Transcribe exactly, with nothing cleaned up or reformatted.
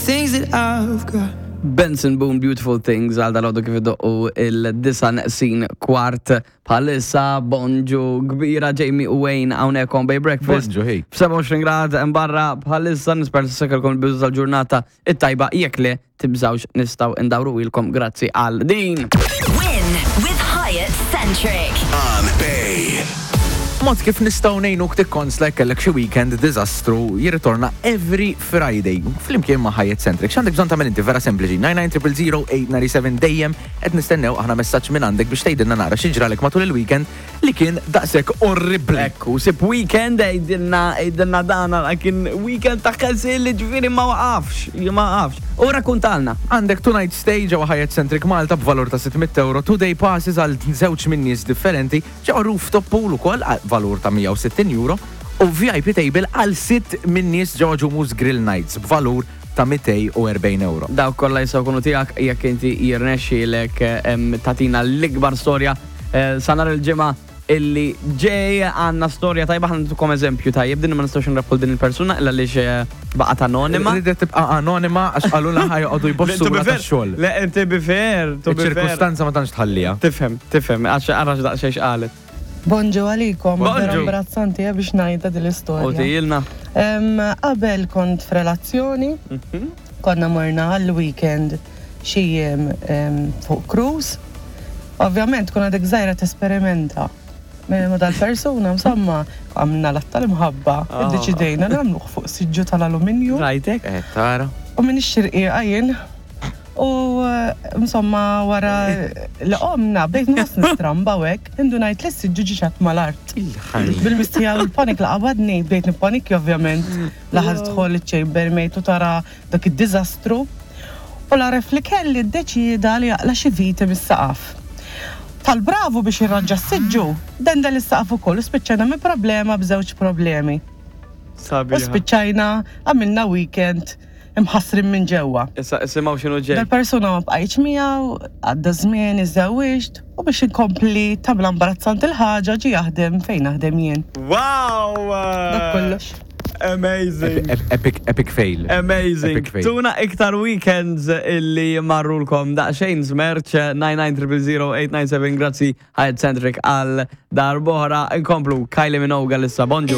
Things that I've got. Benson Boone, Beautiful Things, għal dalgħodu kif idoqqu id-disgħa neqsin kwart bħalissa. Bonġu kbira, Jamie u Wayne hawnhekk on Bay Breakfast. Bonġu, hey. B'sebgħa u għoxrin grad barra bħalissa, nispera s-sekalkom il-bidu tal-ġurnata it-tajba. Jekk le, tibżawx, nistgħu ndawru ilkom, grazzi għal din. Win with Hyatt Centric. On Bay. Mod kif nistgħu ngħinuk tikkonsla kellek xi weekend diżastru jirritorna every Friday flimkien ma' Hyatt Centric. X'għandek bżonn tagħmel inti? Vera sempliċi. nine nine zero zero eight nine seven, dejjem qed nistennew aħna messaġġ minn għandek biex tgħidilna nara xi ġralek matul il-weekend li kien daqshekk orribli. Ekku, sib weekend, għidilna, għidilna dana kien weekend ta' ħasil li ġifieri ma waqafx, ma waqafx. U rakkuntalna. Għandek two night stay ġewwa Hyatt Centric Malta b'valur ta' sitt mitt euro, two day passes għal żewġ minn nies differenti, ġewwa rooftop pool ukoll għal valur ta' mija u sittin euro u V I P table għal sitt minn nies ġewwa Ġumus Grill Nights b'valur ta' mitejn u erbgħin euro. Dawk kollha jistgħu jkunu tiegħek jekk inti jirnexxielek em, tagħtina l-ikbar storja eh, sa nhar il-Ġimgħa illi ġej. Għandna storja tajba, ħa ntukom eżempju tajjeb, din ma nistgħux nrebħu din il-persuna illa għaliex eh, baqgħet anonima. Ridet tibqa' anonima għax qalulna ħa joqogħdu jbossu tax-xogħol. Le, to be fair, to be fair. Iċ-ċirkustanza ma tantx tħallija. Tifhem, tifhem, għax għarax daqsxejn x'qalet. Bonġu għalikom, Bonġu. vera imbarazzanti eh, biex ngħidha din U l-istorja. tijilna. Em, Qabel kont f'relazzjoni, konna morna għall-weekend xi jiem em, fuq cruise. Ovvjament, kun għadek żgħira, tesperimenta. Ma dal-persuna, insomma, għamilna l-att tal-imħabba, Ah. iddeċidejna nagħmluh fuq siġġu tal-alluminju. Rajtek? Eh, tara. U minn ix-xirqiqa jien. U eh, insomma, wara li qomna bdejt nħoss nistramba u hekk, indunajt li s-siġġu ġie mal-art. Bil-mistija u l-panik la qabadni, bdejt nippanikja ovvjament. Laħal tidħol iċ-chambermaid u tara dak id-diżastru. U l-għaref li kelli ddeċida li jaqla xi viti mis-saqaf. Tal-bravu biex jirranġa s-siġġu, dendel is-saqaf ukoll u spiċċajna minn problema b'żewġ problemi. U Sabiħa. spiċċajna għamilna weekend imħassrin minn ġewwa. Issa isimgħu x'inhu ġej. Dal-persuna ma bqajtx miegħu, għadda żmien, iżżewwiġt u biex inkompli tagħmel imbarazzanti l-ħaġa, ġie jaħdem fejn naħdem jien. Wow! Dak kollox. Amazing. Epic, epic fail. Amazing. Epic fail. Tuna iktar weekends illi marrulkom daqsxejn smerċ, nine nine zero zero eight nine seven. Grazzi Hyatt Centric għal darb'oħra. Inkomplu Kylie Minogue issa. Bonġu.